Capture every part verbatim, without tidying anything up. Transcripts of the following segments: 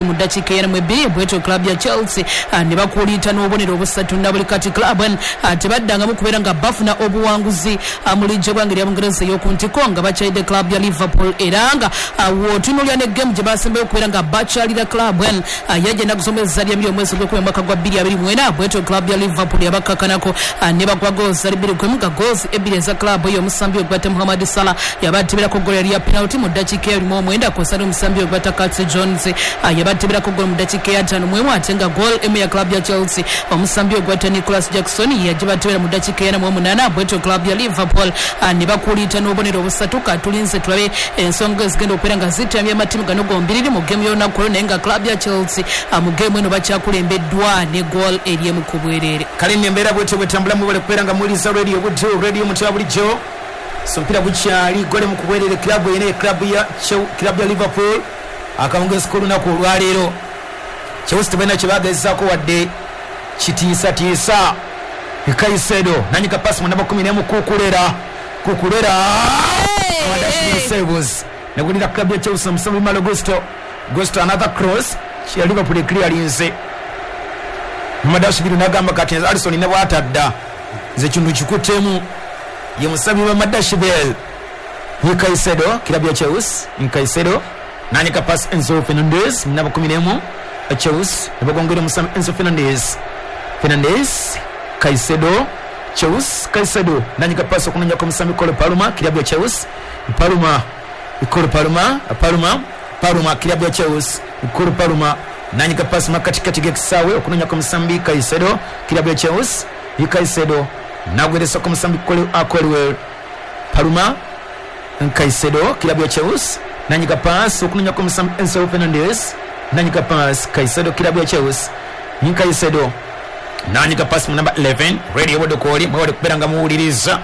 Mu ddakiika ena mu ebbiri bwetyo club ya Chelsea ne bakuliita n'obubonero obusatu na buli kati club tebaddangamu kubeera nga bafuna obuwanguzi mu liigi y'eggwanga erya Bungereza ey'oku ntiko nga bakyalidde club ya Liverpool. Era nga w'otunuulira ne game gye basembayo okubeera nga bakyalira club yajja ennaku z'omwezi zali ebiri omwezi ogw'ekkumi omwaka gwa bbiri abiri mu ena, bwetyo club ya Liverpool yabakkakanako ne bagwa goals zali bbiri ku emu, nga goals ebbiri eza club eyo omusambi ogwata Mohamed Salah yabateberako goal yali ya penalty mu ddakiika ebiri mu omwenda, kw'ossa n'omusambi ogwata Curtis Jones yabateberako goal mu ddakiika ey'ataano mu emu, ate nga goal emu ya club ya Chelsea omusambi ogwata Nicholas Jackson yagibatebera mu ddakiika ena mu omunaana, bwetyo club ya Liverpool ne bakuliita n'obubonero obusatu. Katulinze tulabe ensonga ezigenda okubeera nga zitambya amatimu gano gombiriri mu game y'olunaku olwo, naye nga club ya Chelsea mu game eno bakyakulembeddwa ne goal eri emu ku bwereere. Kale nno embeera bwetyo bwetambula, mwebale kubeera nga muwuliriza Radio Buddu, radio omuntu wa bulijjo. So omupiira gukyali gole mu kubwerere club eno, club ya club ya Liverpool akawungeezi k'olunaku olwaleero. Chelsea tebalina kye bagezaako wadde kitiisatiisa. Caicedo nanyika pasi mu namba kumi n'emu Cucurella, Cucurella saves negulira club ya Chelsea musambi Malo Gusto, Gusto another cross ya Liverpool clearance. Madashvili nagamba kati Alisson ne bwatadda nze kintu kikutemu ye musambi wa Madashvili. Caicedo club ya Chelsea, Caicedo nanyika pass Enzo Fernandez namba kumi n'emu Chelsea nebagongera musambi Enzo Fernandez, Fernandez Caicedo Chelsea, Caicedo nanyika pass okunonya ku musambi Cole Palmer club ya Chelsea, Palmer Cole Palmer, Palmer Palmer club ya Chelsea, Cole Palmer nanyika pass makatikati g'ekisaawe okunonya ku musambi Caicedo club ya Chelsea, Caicedo nagweresa ku musambi Cole Colwell, Palmer Caicedo club ya Chelsea nanyika pass okunonya ku musambi Enzo Fernandez, nanyika pass Caicedo club ya Chelsea, Caicedo nanyika pass mu namba eleven Radio Budukoli mwebale kubeera nga muwuliriza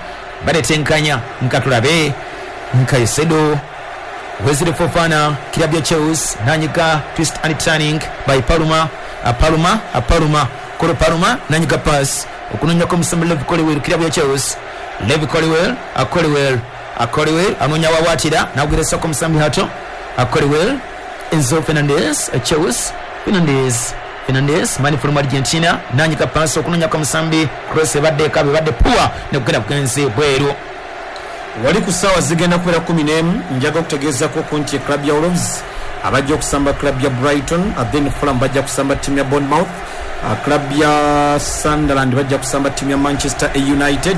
baletenkanya nkatulabe. Caicedo Wesley Fofana club ya Chelsea nanyika twist and turning by Palmer, Palmer Palmer Cole Palmer nanyika pass okunonya ku musambi Levi Colwill club ya Chelsea, Levi Colwill Colwill Colwill anonya wawatira nagweresa ku musambi hato Colwill Enzo Fernandez Chelsea, Fernandez Fernandez mani from Argentina nanyika pass okunonya ku musambi cross ebadde kabe badde poor nekugenda kugenze bweru. Wali ku ssaawa zigenda kubeera kumi n'emu njaga okutegeezaako ku nti club ya Wolves abajja okusamba club ya Brighton, then Fulham bajja kusamba ttiimu ya Bournemouth, club ya Sunderland bajja kusamba ttiimu ya Manchester United,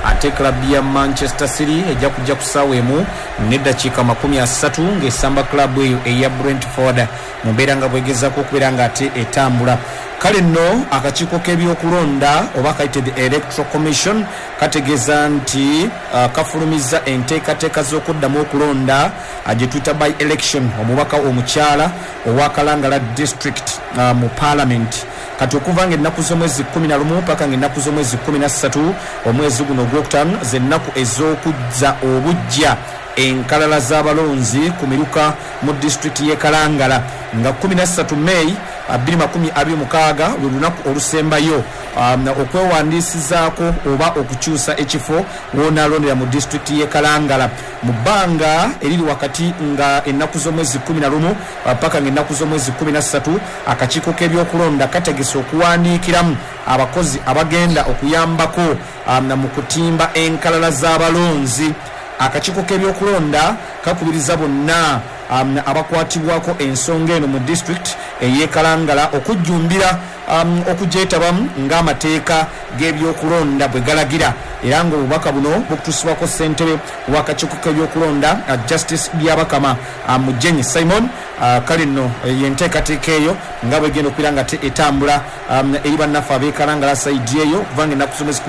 ate club ya Manchester City ejja kujja ku ssaawa emu n'eddakiika makumi asatu ng'esamba club eyo eya Brentford mu mbeera nga bwegezaako okubeera nga ate etambula. Kale nno akakiiko k'ebyokulonda oba kayite the Electoral Commission kategeeza nti uh, kafulumizza enteekateeka z'okuddamu okulonda uh, gye tuyita by election omubaka omukyala owa Kalangala district uh, mu parliament. Kati okuva ng'ennaku z'omwezi kkumi na lumu paka ng'ennaku z'omwezi kkumi na ssatu omwezi guno ogwokutaano z'ennaku ez'okuzza obuggya enkalala z'abalonzi ku miruka mu disitulikiti y'e Kalangala nga kkumi na ssatu May bbiri makumi abiri mukaaga lwe lunaku olusembayo um, okwewandiisizaako oba okukyusa ekifo w'onaalondera mu disitulikiti y'e Kalangala mu bbanga eriri wakati nga ennaku z'omwezi kkumi na lumu paka ng'ennaku z'omwezi kkumi na ssatu akakiiko k'ebyokulonda kategese okuwandiikiramu abakozi abagenda okuyambako um, mu kutimba enkalala z'abalonzi. Akakiiko k'ebyokulonda kakubiriza bonna um, abakwatibwako ensonga eno mu district ey'e Kalangala okujjumbira um, okugyetabamu ng'amateeka g'ebyokulonda bwe galagira, era ng'obubaka buno bukutuusibwako ssentebe w'akakiiko k'ebyokulonda uh, Justice Byabakama uh, Mujenyi Simon. Uh, kale nno yenteekateeka eyo nga bwegenda okubeera nga etambula um, eri bannaffe ab'e Kalangala sayidi eyo okuva ng'ennaku z'omwezi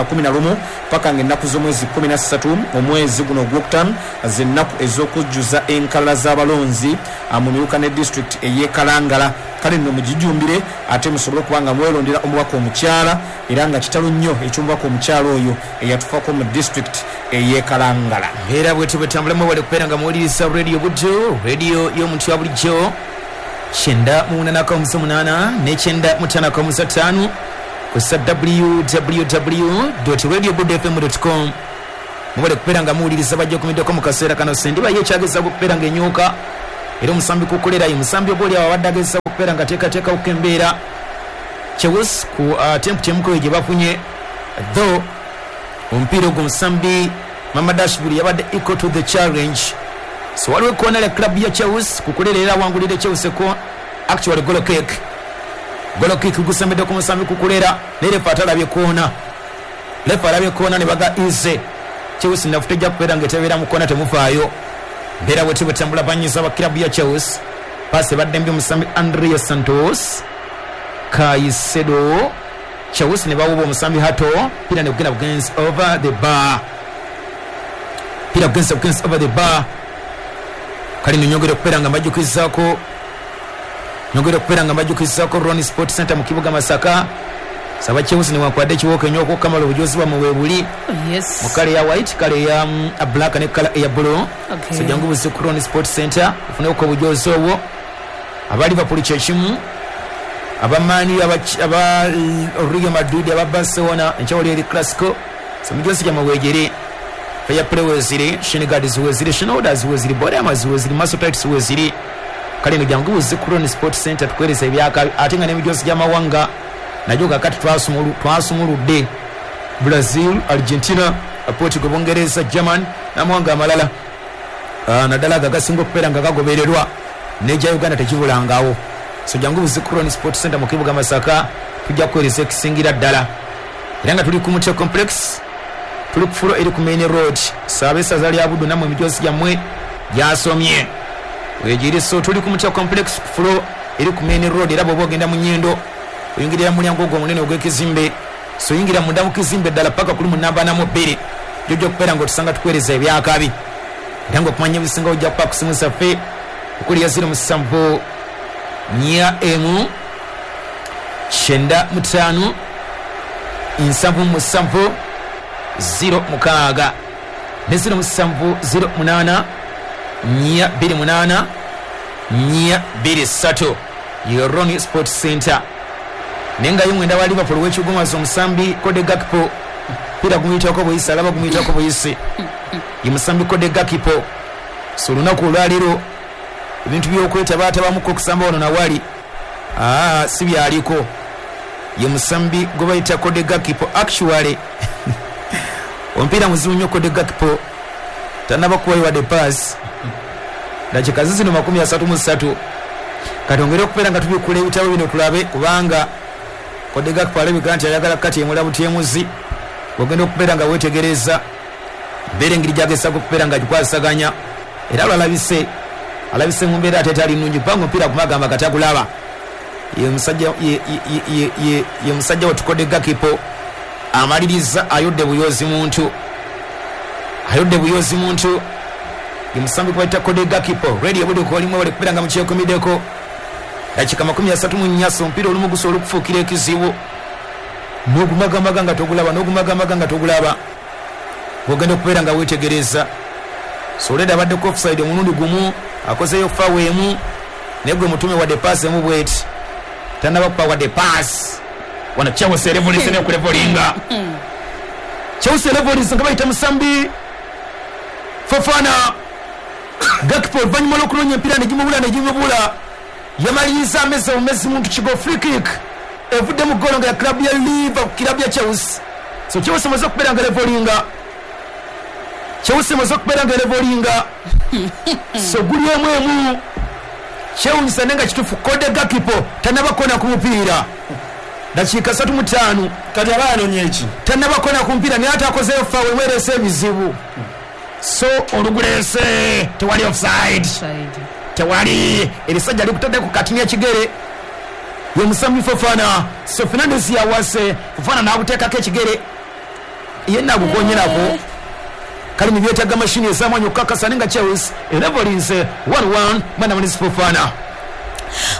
kumi na lumu paka ng'ennaku z'omwezi kkumi na ssatu omwezi guno ogwokutaano z'ennaku ez'okujjuza enkalala z'abalonzi mu miruka ne disitulikiti ey'e Kalangala. Kale nno mugijumbire ate musobole okuba nga mwerondera omubaka omukyala, era nga kitalo nnyo eky'omubaka omukyala oyo eyatufaako mu disitulikiti ey'e Kalangala. Era bwetyo bwetambula mwebale kubeera nga muwuliriza Radio Buddu, radio y'omuntu wa bulijjo kyenda mu munaana akamusa munaana ne kyenda mu ttaano akamusa ttaano kussa w w w dot radio buddu f m dot com. Mwebale kubeera nga muwuliriza bajja okumiddeko mu kaseera kano. Sendiba ye ekyagezaako okubeera ng'enyuka Era omusambi Kukulera ye musambi ogoli abadde agezesa okubeera nga teekateekawo embeera Chelsea ku attempt emukoyo gye bafunye, though omupiira ogwo omusambi Mamadashvili yabadde equal to the challenge. So waliwo ekkoona lya club ya Chelsea. Kukulera era awangulidde Chelsea ko actually goal kick. Goal kick gusembedde ku musambi Kukulera, naye refa atalabye koona. Refa alabye koona ne baga easy. Chelsea nafu tejja kubeera ng'etebeera mu koona, temufaayo. Mbeera bwetyo bwetambula banyiza aba club ya Chelsea. Paasi ebadde mbi omusambi Andrea Santos Caicedo. Chelsea ne bawuba omusambi Hato, pira ne gugenda bugenzi over the bar. Pira bugenzi bugenzi over the bar. Kale nno nyongera okubeera nga mbajjukizaako nyongera okubeera nga mbajjukizaako Ron Sport Center mu kibuga Masaka. Saba Chelsea newankubadde ekiwooka ennyo okukamala obujozi bwammwe weebuli Yes. mu kale eya white, kale eya mm, black ne kala eya blue. Okay. So jangu buzi ku Ron Sport Center ofuneko obujozi obwo. Aba Liverpool kyekimu, aba Man U, aba aba Real Madrid, aba Barcelona, enkyawuli eri Clasico. So mijozi gyammwe weegiri, fair play weeziri, shin guards weeziri, shoulders weeziri, body armors weeziri, muscle tights weeziri. Kale eno jangu buzi ku Ron Sport Center tukuweereza ebyakabi, ate nga n'emijozi gy'amawanga nagyo kakati twasumulu- twasumuludde Brazil, Argentina, Portugal, Bungereza, German n'amawanga amalala. Ah, naddala ago agasinga okubeera nga gagobererwa n'egya Uganda tekibulangawo. So jangu buzi ku Ron Sport Center mu kibuga Masaka, tujja kuweereza ekisingira ddala. Era nga tuli ku Mutya Complex, tuli ku fulo eri ku main road. Saaba essaza lya Buddu nammwe emijoozi gyammwe gyasomye wegiri. So tuli ku Mutya Complex ku fulo eri ku main road, era bw'oba ogenda mu Nyendo oyingirira mu mulyango ogwo omunene ogw'ekizimbe. So oyingira munda mu kizimbe ddala paka kuli mu namba ana mu bbiri, gyojja okubeera ng'otusanga tukuweereza ebyakabi. Era ng'okumanya ebisinga ojja kuba ku simu zaffe okuli ya ziro musanvu nnya emu kyenda mutaano nsanvu musanvu ziro mukaaga ne ziro musanvu ziro munaana nnya bbiri munaana nnya bbiri ssatu. Ye Ron Sport Center. Naye nga ye mwenda wa Liverpool w'ekigumazo omusambi Cody Gakpo, pira gumuyitako buyisi, alaba gumuyitako buyisi, ye musambi Cody Gakpo. So olunaku olwaleero ebintu by'okwetabaatabamuko okusamba wano nawali aa si byaliko. Ye musambi gwe bayita Cody Gakpo. Actually omupiira muzibu nnyo. Cody Gakpo tannaba kuwayo wadde pass. Dakika zizino makumi asatu mu ssatu. Kati ongere okubeera nga tubikula ebitabo bino tulabe, kubanga Cody Gakpo alabika nti ayagala kati emula butyemuzi. Ogenda okubeera nga weetegereza mbeera engeri gyagezako okubeera nga agikwasaganya, era lwalabise alabise mu mbeera ate etali nnungi, kubanga omupiira kumagamba katagulaba. Ye musajja ye, ye, ye, ye, ye musajja wetu Cody Gakpo amaliriza ayodde buyozi muntu, ayodde buyozi muntu. Ye musambi gwe bayita Cody Gakpo. Radio Buddu olimu bali kubeera nga mukyekumiddeko dakika makumi asatu mu nnya. So omupiira olumu gusobola okufuukira ekizibu n'ogumagamaga nga togulaba, n'ogumagamaga nga togulaba, bwogenda okubeera nga weetegereza. So oleda abaddeko offside omulundi gumu, akozeyo foul emu, naye gwe mutume wadde pass emu bweti tannaba kupa wadde pass. Wano Chelsea erevolise nekulevolinga, Chelsea erevolise nga bayita musambi Fofana. Gakpo oluvannyuma lw'okunoonya empiira negimubula negimubula yamaliriza ameze bumezi muntu kigo. Free kick evudde mu golo nga ya club ya Liverpool, club ya Chelsea. So Chelsea emaze okubeera nga levolinga, Chelsea emaze okubeera nga levolinga. So guli emu emu. Kyewunyisa naye nga kituufu, Cody Gakpo tannaba kona ku mupiira dakiika satu mu ttaano. Kati aba anoonya eki? Tannaba kona ku mupiira, naye ate akozeyo foul emwereese ebizibu. So oluguleese, tewali offside. Side. Tewali. Erisajja likutadde ku katini ekigere, ye musambi Fofana. So Fernandes yawase Fofana n'aguteekako ekigere, ye nagukonyerako. Kale nibyetaaga mashini ez'amaanyi okukakasa, naye nga Chelsea erevolinze one one mwana munisi Fofana.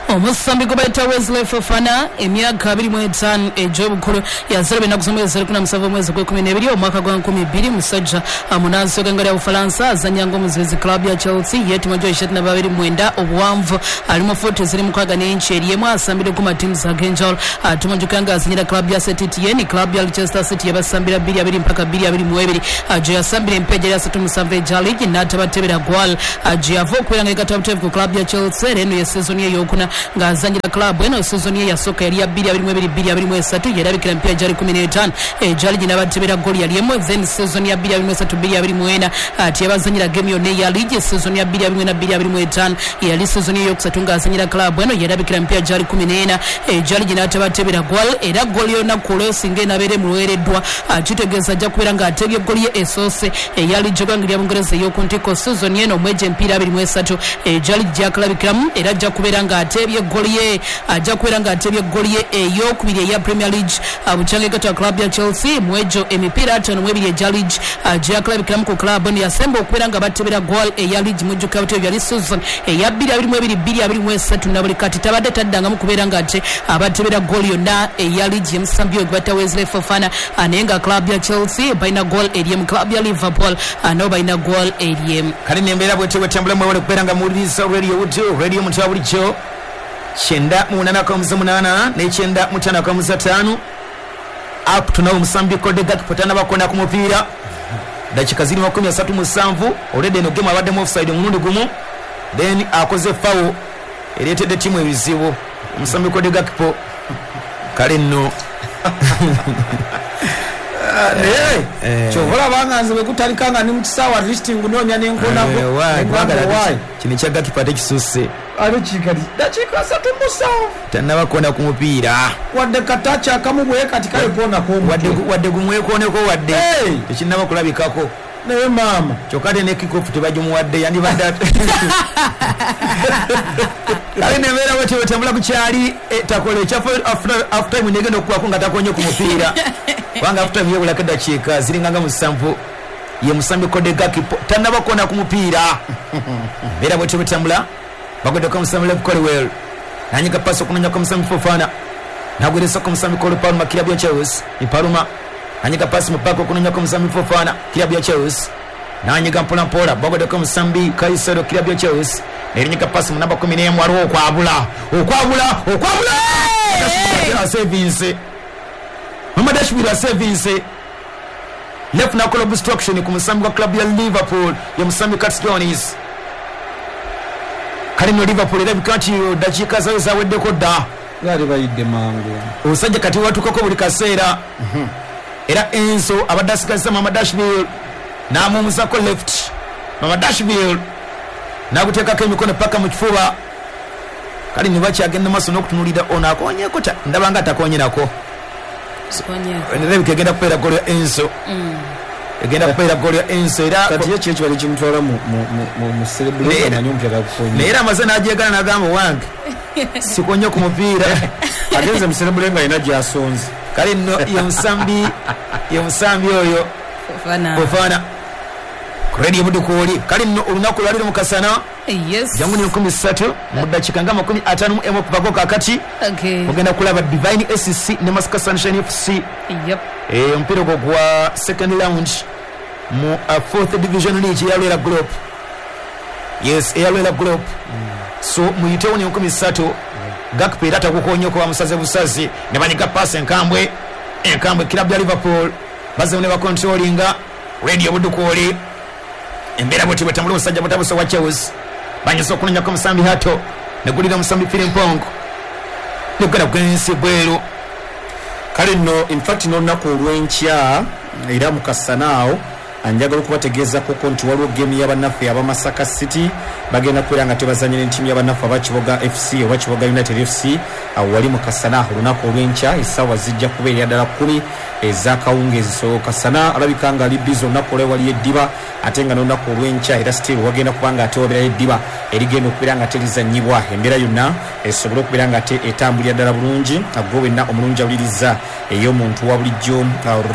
Omusambi gwe bayita Wesley Fofana, emyaka abiri mu etaano egy'obukulu, yazaalibwa ennaku z'omwezi kkumi na musanvu omwezi gw'ekkumi n'ebiri omwaka gwa nkumi bbiri, musajja munansi w'eggwanga lya Bufalansa, azannya ng'omuzibizi club ya Chelsea, yeetima gy'eshatu na babiri mwenda obuwanvu, ali mu fuuti eziri mukaaga n'inchi eri emu, asambire ku matiimu ag'enjawulo. Tumujjukira nga azannyira club ya Saint-Etienne, club ya Leicester City yabasambira bbiri abiri mpaka bbiri abiri mu ebiri, gye yasambira empeja eri asatu musanvu egya liigi n'atabatebera gwal, gye yava okubeera nga yegatta buteevu ku club ya Chelsea. Era eno ye season ye ey'okuna ng'azannyira club eno. Season ye yasooka yali ya bbiri abiri mu ebiri bbiri abiri mu esatu, yerabikira emipiira gyali kumi n'etaano egya liigi n'abatebera ggooli yali emu. Then season ya bbiri abiri mu esatu bbiri abiri mu ena teyabazannyira game yonna eya liigi. Season ya bbiri abiri mu ena bbiri abiri mu etaano yali season ye eyokusatu ng'azannyira club eno, yerabikira emipiira gyali kumi n'ena egya liigi n'atabatebera gwal. Era ggooli y'olunaku olwo singa enabeera emuweereddwa, kitegeeza ajja kubeera ng'atebye ggooli ye esoose eya liigi y'eggwanga lya Bungereza ey'oku ntikko season eno omwegyo emipiira abiri mu esatu egya liigi gyakulabikiramu. Era ajja kubeera ng'atebye ggooli ye ajja kubeera ng'atebye ggooli ye ey'okubiri eya Premier League bukyanga egatta club ya Chelsea mwegyo emipiira ataano mu ebiri egya liigi gyakulabikiramu ku club eno. Yasemba okubeera nga batebera goal eya liigi mujjukira butebyo yali season eya bbiri abiri mu ebiri bbiri abiri mu esatu, na buli kati tabadde taddangamu kubeera ng'ate abatebera goal yonna eya liigi. Emusambi oyo gwe bayita Wesley Fofana, naye nga club ya Chelsea balina goal eri emu, club ya Liverpool nabo balina goal eri emu. Kale nembeera bwetyo bwetambula. Mwewale kubeera nga muwuliriza Radio Buddu, radio omuntu wa bulijjo, kyenda mu munaana akamuza munaana n'ekyenda mu ttaano akamuza ttaano. Up to now omusambi Cody Gakpo tannabakona ku mupiira, dakika ziri makumi asatu musanvu. Already eno game abaddemu offside omulundi gumu, then akoze foul ereetedde ttiimu ebizibu, omusambi Cody Gakpo. Kale nno naye kyova olaba nga nze bwe gutandika nga ndi mu kisaawe, at least ngunoonya nenkonako. Kino ekya Gakpo ate kisusse. Ate kikati dakiika asatu musanvu tannabakona ku mupiira, wadde kataaki akamu bwe kati kale koonako omutwe, wadde gumwekooneko, wadde tekinnaba kulabikako. Naye maama kyokka ate ne kickoff tebagimuwadde, yandibadde. Kale nembeera bwetyo bwetambula ku kyali takola ekya half time negenda okukubako nga takonye ku mupiira, kubanga half time yebulako eddakiika ziringa nga musanvu. Ye musambi Cody Gakpo tannabakona ku mupiira. Mbeera bwetyo bwetambula. Bagoddeko omusambi Lev Colwell, nanyiga pasi okunonyako omusambi Fofana, nagweresako omusambi Cole Palmer club ya Chelsea. Ni Palmer nanyiga pasi mu paka okunonyako omusambi Fofana club ya Chelsea, nanyiga mpola mpola. Bagoddeko omusambi Caicedo club ya Chelsea, nerinyiga pasi mu namba kumi n'emu. Waliwo okwabula okwabula okwabula asevinse Mamadashvili asevinse left nakola obstruction ku musambi wa club ya Liverpool, ye musambi Curtis Jones. Kale no Liverpool erabika nti dakiika zayo zaweddeko dda, baali bayidde mangu. Omusajja kati watukako buli kaseera. Era Enzo abadde asigazza Mamadashvili n'amuwummuzako left, Mamadashvili n'aguteekako emikono paka mu kifuba. Kale ne bakyagenda maaso n'okutunuulira ono akonyeeko, ndaba nga atakonye nako. Erabika egenda kubeera ggoolo ya Enzo, egenda kubeera ggoolo ya Enzo. Era kati ye ki ekibadde kimutwala mu mu celebration manyi omupiira gagukonye, naye era amaze n'agyegana n'agamba wange sikonye ku mupiira. Agenze mu celebration nga alina gy'asonze. Kale nno ye musambi ye musambi oyo Fofana ku Radio Buddu kwoli. Kale nno olunaku lwaliro mu kasana jangu ni nkumi ssatu mu ddakiika nga makumi ataano mu emu okuvako kaakati, ogenda kulaba Divine S C ne Masaka Sunshine F C. Omupiira ogwo gwa second round mu fourth division league eya Lwera Group. Yes, eya Lwera Group. So muyitewo ni nkumi ssatu. Gakpo era tagukonye bamusaze busazi ne banyiga pasi enkambwe enkambwe club ya Liverpool bazze ne bakontrolinga. Radio Buddu kwoli embeera bwetyo bwetambula. Omusajja butabusa wa Chelsea banyusa okunonyako omusambi Hato, negulira omusambi Frimpong negenda kugenda bweru. Kale nno in fact n'olunaku olw'enkya era mu kasana awo njagala okubategeezako nti waliwo game y'abannaffe abamasaka City bagenda kubeera nga tebazannya n'ettiimu y'abannaffe aba Kiboga F C oba Kiboga United F C. Awo wali mu kasana olunaku olw'enkya essaawa zijja kubeera ddala kkumi ez'akawungeezi. So kasana alabika nga ali busy olunaku olwo waliyo eddiba, ate nga n'olunaku olw'enkya era still wagenda kuba nga ate wabeerayo eddiba erigenda okubeera nga terizannyibwa. Embeera yonna esobole okubeera nga ate etambulira ddala bulungi. Gwe wenna omulungi awuliriza ey'omuntu wa bulijjo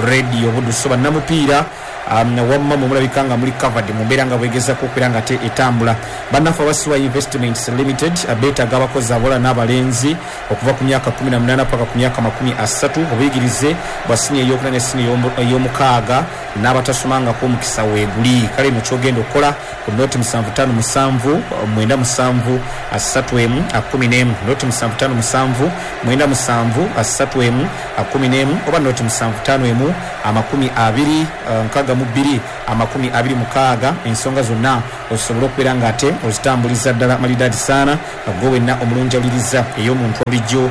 Radio Buddu, so bannamupiira um, wamma mumulabika nga muli covered mu mbeera nga bwegezako okubeera nga te etambula. Bannaffe abasiwa Investments Limited beetaaga abakozi abawala n'abalenzi okuva ku myaka kumi na munaana paka ku myaka makumi asatu, obuyigirize bwa siniya ey'okuna ne siniya ey'omukaaga n'abatasomangako omukisa weeguli. Kale eno kyogenda okukola ku noti musanvu ttaano musanvu mwenda musanvu asatu emu kumi n'emu, noti musanvu ttaano musanvu mwenda musanvu asatu emu kumi n'emu, oba noti musanvu ttaano emu amakumi abiri nkaaga mu bbiri amakumi abiri mukaaga. Ensonga zonna osobola okubeera nga ate ozitambuliza ddala malidaadi saana gwe wenna omulungi awuliriza ey'omuntu bulijjo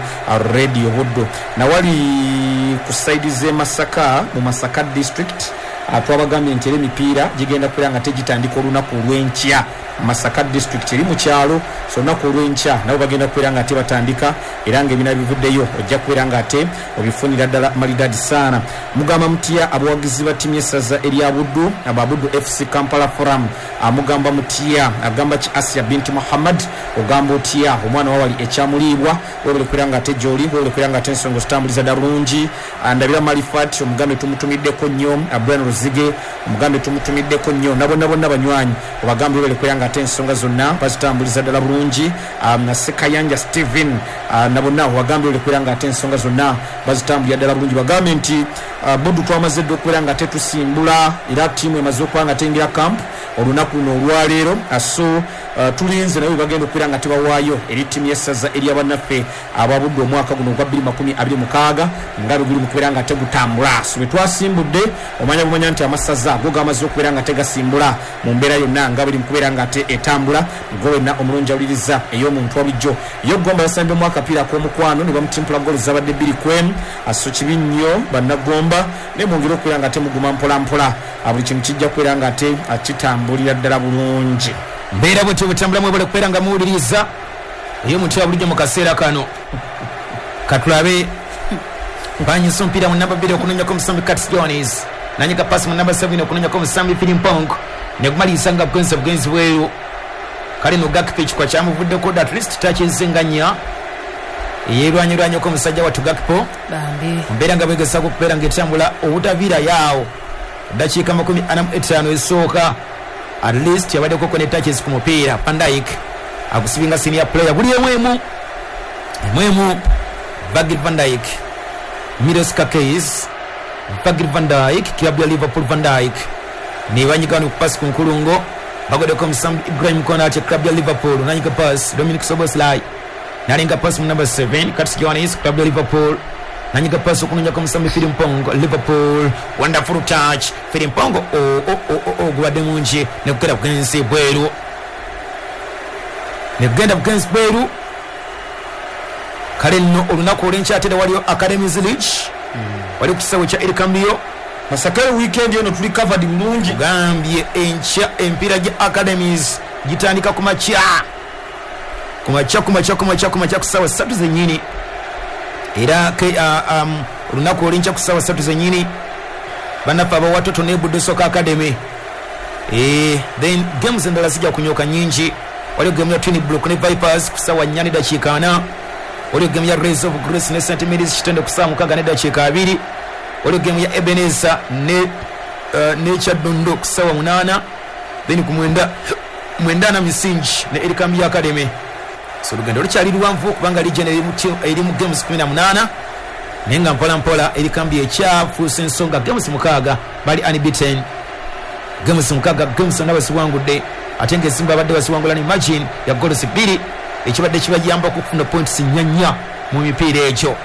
Radio Buddo. Nawali ku saidi z'e Masaka mu Masaka district twabagambye nti era emipiira gigenda kubeera nga tegitandika olunaku olw'enkya. Masaka district eri mu kyalo, so olunaku olw'enkya nabo bagenda kubeera nga ate batandika, era ng'ebina bivuddeyo ojja kubeera nga ate obifunira ddala malidaadi saana. Mugamba mutya abawagizi ba ttiimu y'essaza erya Buddu, aba Buddu F C Kampala Forum, amugamba mutya, agamba ki Asia binti Muhammad, ogamba otya omwana wawali ekyamuliibwa, webale kubeera nga ate gy'oli, webale kubeera nga ate ensonga ozitambuliza ddala bulungi. Ndabira Malifat omugambe tumutumiddeko nnyo, Brian Ruzige omugambe tumutumiddeko nnyo, na bonna bonna banywanyi obagambe webale kubeera nga ate ensonga zonna bazitambuliza ddala bulungi. um, Sekayanja Steven uh, na bonna obagambe webale kubeera nga ate ensonga zonna bazitambulira ddala bulungi. Bagambe nti uh, Buddu twamaze dda okubeera nga ate tusimbula, era ttiimu emaze okuba nga teyingira camp olunaku luno olwaleero, so uh, tulinze naye bagenda okubeera nga tebawaayo eri ttiimu y'essaza ery'abannaffe ababudde omwaka guno ogwa bbiri makumi abiri mukaaga nga bwe guli mu kubeera nga tegutambula. So bwe twasimbudde omanya bumanya nti amasaza go gamaze okubeera nga tegasimbula mu mbeera yonna nga buli mu kubeera nga ate etambula. Gwe wenna omulungi awuliriza ey'omuntu wabulijjo. Yo Gomba yasambye mu akapiira ak'omukwano ne bamutimpula ggoolo zabadde bbiri ku emu, so kibi nnyo bannagomba, naye mwongere okubeera nga temuguma mpola mpola, buli kintu kijja kubeera nga ate kitambulira ddala bulungi. Mbeera bwetyo bwetambula, mwebale kubeera nga muwuliriza ey'omuntu wabulijjo mu kaseera kano. Katulabe banyisa omupiira mu namba bbiri okunonyako omusambi Curtis Jones, nanyika pasi mu namba seven okunonyako omusambi Filimpong, negumaliriza nga bugenzi bugenzi bweru. Kale no Gakpo ekikwa kyamuvuddeko dda, at least takinze nga nnya yeerwanyirwanyeko omusajja wattu Gakpo. Mbeera nga bwegezaako okubeera ng'etambula obutaviirayo awo ddakiika makumi ana mu etaano esooka, at least yabaddeko ne touches ku mupiira. Van Dijk akusibinga senior player buli emu emu emu emu. Virgil van Dijk, Milos Kerkez, Virgil van Dijk, kilabu ya Liverpool. Van Dijk nebanyiga wano ku pasi ku nkulungo, bagoddeko omusambi Ibrahim Konate, club ya Liverpool, nanyiga pass Dominic Szoboszlai, nalenga pass mu number seven Curtis Jones, club ya Liverpool, nanyiga pass okunonyako omusambi Filimpong, Liverpool, wonderful touch Filimpong, oh oh oh oh gubadde mungi nekugenda bugenzi bweru, nekugenda bugenzi bweru. Kale nno olunaku olw'enkya ate waliyo Academies League, wali ku kisaawe kya Erikambio Masaka. Weekend eno tuli covered bulungi. Gambye enkya empiira gya Academies gitandika ku makya ku makya ku makya ku makya ku makya ku ssaawa ssatu zennyini, era uh, um, olunaku olw'enkya ku ssaawa ssatu zennyini bannaffe abawatoto ne Buddu Soccer Academy. Eh, then games endala zijja kunyoka nnyingi. Waliyo game ya Twin Brook ne Vipers ku ssaawa nnya ne dakiika ana, waliyo game ya Rays of Grace ne Saint Mary's Kitende ku ssaawa mukaaga ne dakiika abiri, waliyo game ya Ebenezer ne uh, ne Kyaddondo ku ssaawa munaana, then ku mwenda mwenda na misingi ne Erikambi Academy. So olugendo lukyali luwanvu kubanga region eri mu games kumi na munaana, naye nga mpola mpola Erikambi ekyafuuse ensonga. Games mukaaga bali unbeaten, games mukaaga games zonna basiwangudde, ate ng'ezimu babadde basiwangula ne margin ya goals bbiri, ekibadde kibayamba okufuna points nnya nnya mu mipiira egyo.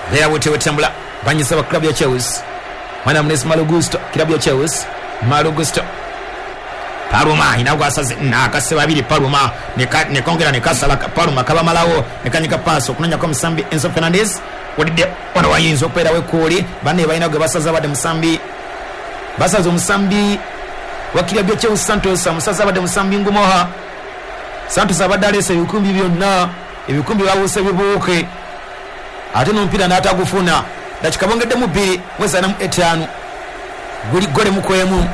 Mbeera bwetyo bwetambula. Banyisa ba club ya Chelsea, mwana munesi Malo Gusto, club ya Chelsea, Malo Gusto Paruma inagwasaze nakase babiri Paruma nekongera nekasala Paruma kabamalawo nekanyika pass okunonyako musambi Enzo Fernandez wadde wano wayinza okubeerawo ekkooli banne balina gwe basaza badde musambi basaza omusambi wa club ya Chelsea Santos, omusaza abadde musambi Ngumoha. Santos abadde aleese ebikumbi byonna, ebikumbi babuuse bibuuke ate n'omupiira n'atagufuna. Dakika bongeddemu bbiri mwezi ana mu etaano guli gole mukwemu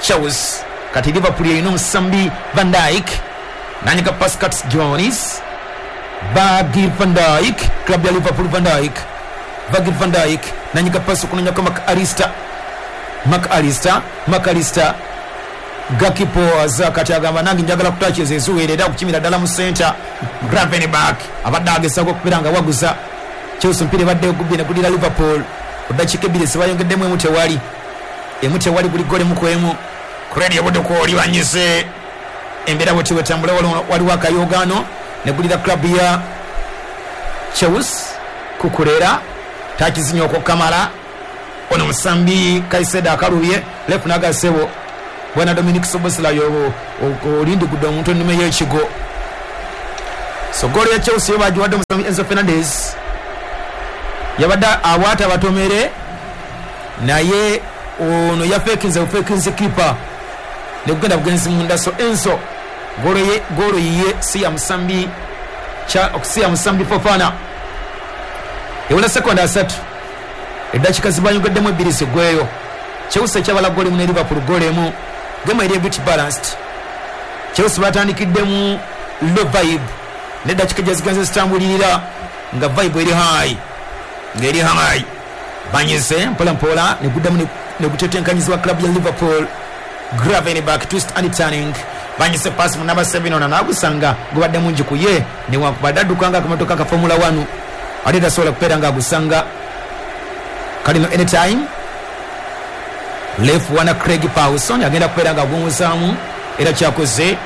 Chelsea. Kati Liverpool erina omusambi Van Dijk nanyika pass Curtis Jones, Virgil van Dijk, club ya Liverpool. Van Dijk, Virgil van Dijk nanyika pass okunonyako Mac Allister, Mac Allister, Mac Allister Gakpo aza kati agamba nange njagala kutakiza eziwere era okukimira ddala mu center. Gravenberch abadde agezaako okubeera nga waguza Chelsea mpira ebadde ogubye ne gulira Liverpool ku ddakiika ebbiri zibayongeddemu emu tewali emu tewali guli gole mu kwemu Crane yabudde oli banyize embeera bwe tiwetambula waliwo akayogaano ne gulira club ya Chelsea kukulera takizinya okwokamala ono musambi Caicedo akalubye left nagasebo bwana Dominic Szoboszlai olindi gudde omuntu ennume y'ekigo. So goal ya Chelsea bagiwadde omusambi Enzo Fernandez yabadde awaata batomere naye ono yafekinze bufekinze keeper ne kugenda bugenzi munda. So Enzo golo ye golo ye si ya musambi cha si ya musambi Fofana ewula sekonda asatu eddakiika zibayongeddemu ebbiri zigweyo. Chelsea ekyabala goli mu ne Liverpool goli emu game eri a bit balanced. Chelsea batandikiddemu low vibe neddakiika gye zigenze zitambulirira nga vibe eri high ng'eri high banyize mpola mpola ne guddamu ne gutetenkanyizibwa club ya Liverpool. Gravenberch twist and turning banyise pass mu number seven ono n'agusanga gubadde mungi ku ye newankubadde adduka nga akamotoka ka Formula one ate tasobola kubeera ng'agusanga kalino anytime. Left wana Craig Pawson agenda kubeera ng'agumuzaamu era kyakoze.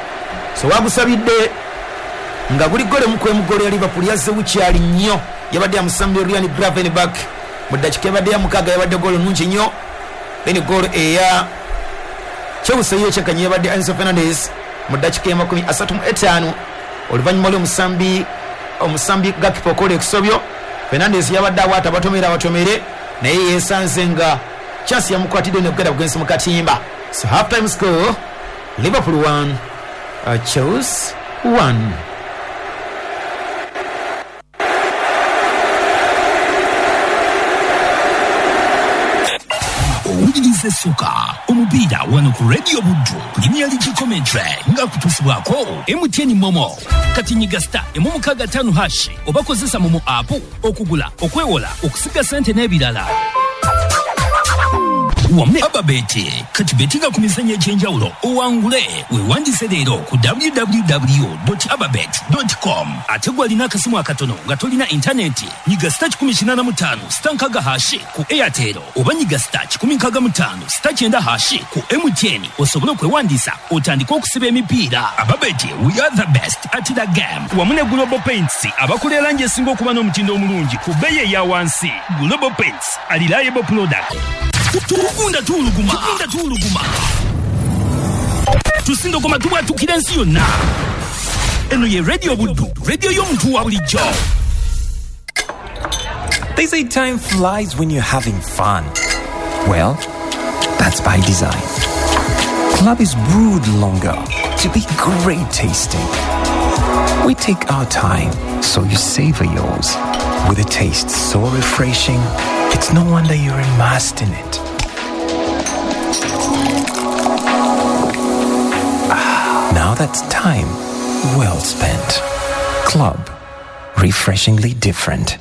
So wagusabidde nga guli gole mu kwemu gole ya Liverpool yazze bukyali nnyo yabadde yamusambi Ryan Gravenberch mu ddakiika ebadde ya mukaaga yabadde golo nnungi nnyo. Then golo eya Chelsea yekyekanye yabadde Enzo Fernandez mu ddakiika ya makumi asatu mu etaano oluvannyuma lw'omusambi omusambi Gakpo okola ekisobyo. Fernandez yabadde awaata abatomere abatomere naye yeesanze nga chance yamukwatidde nekugenda bugenzi mu katimba. So half time score Liverpool one uh, Chelsea one. Owuliriza essuka omupiira wano ku Radio Buddu Premier League commentary nga kutuusibwako M T N Momo kati nyiga star emu mukaaga ttaano hash oba kozesa Momo app okugula okwewola okusiga ssente n'ebirala. Wamu Ababeti kati betinga ku mizannyo egy'enjawulo owangule weewandise leero ku w w w dot ababet dot com. Ate gwe alina akasimu akatono nga tolina intaneti nyiga star kikumi kinaana mu ttaano star nkaaga hashi ku Airtel oba nyiga star kikumi nkaaga mu ttaano star kyenda hashi ku M T N osobole okwewandiisa otandike okusiba emipiira. Ababeti, we are the best at the game. Wamu ne Global Paints abakola erangi esinga okuba n'omutindo omulungi ku bbeeyi eya wansi. Global Paints, a reliable product. Tugunda tuuluguma tugunda tuuluguma tusindogoma tubwatukira ensi yonna. Eno ye Radio Buddu, radio y'omuntu wa bulijjo. They say time flies when you're having fun. Well, that's by design. Club is brewed longer to be great tasting. We take our time so you savor yours. With a taste so refreshing, it's no wonder you're immersed in it. Ah, now that's time well spent. Club, refreshingly different.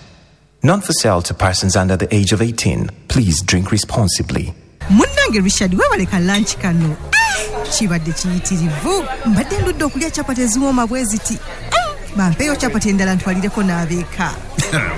Not for sale to persons under the age of eighteen. Please drink responsibly. Munnange Richard webaleka lunch kano. Kibadde kiyitirivu. Mbadde ndudde okulya chapati eziwooma bwe ziti. Bampeeyo chapati endala ntwalireko n'abeeka.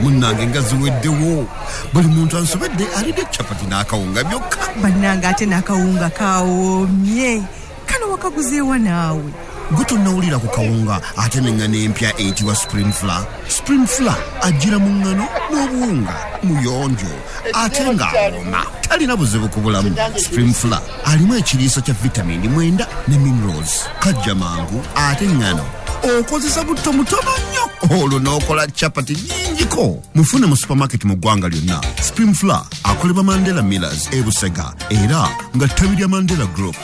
Munnange nga ziweddewo. Buli muntu ansobedde alidde chapati n'akawunga byokka. Bannange ate n'akawunga kawoomye. Kano wakaguzeewa naawe. Gwe tonnawulira ku kawunga ate n'eŋŋano empya eyitibwa Spring Flour. Spring Flour ajjira mu ŋŋano n'obuwunga muyonjo ate ng'awooma talina buzibu ku bulamu. Spring Flour alimu ekiriisa kya vitamini mwenda ne minerals. Kajja mangu ate ŋŋano okozesa butto mutono nnyo olwo n'okola chapati nnyingiko. Mufune mu supermarket mu ggwanga lyonna. Spring Flour akolebwa Mandela Millers e Busega era nga ttabi lya Mandela Group.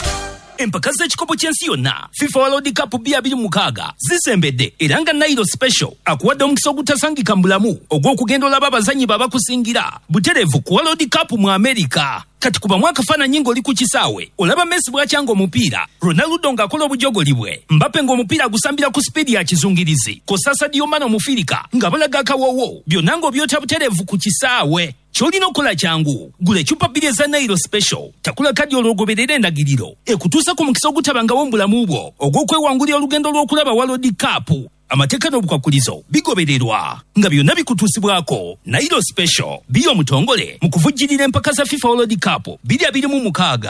Empaka z'ekikopo ky'ensi yonna FIFA World Cup bbiri mukaaga zisembedde era nga Nairo Special akuwadde omukisa ogutasangika mu bulamu ogw'okugenda olaba abazannyi babakusingira butereevu ku World Cup mu Amerika. Kati kubamu akafaananyi ng'oli ku kisaawe olaba Messi bw'akyanga omupiira, Ronaldo ng'akola obujogoli bwe, Mbappe ng'omupiira agusambira ku sipiidi ya kizungirizi, Kosa Sadio Mane omufirika nga balaga akawoowo, byonna ng'obyota butereevu ku kisaawe. Ky'olina okukola kyangu, gula eccupa bbiri eza Nairo Special, takula kadi olwogoberera endagiriro ekutuusa ku mukisa ogutabangawo mu bulamu bwo ogw'okwewangulira olugendo lw'okulaba World Cup. Amateeka n'obukwakulizo bigobererwa, nga byonna bikutuusibwako Nairo Special biyo omutongole mu kuvujjirira empaka za FIFA World Cup bbiri abiri mu mukaaga.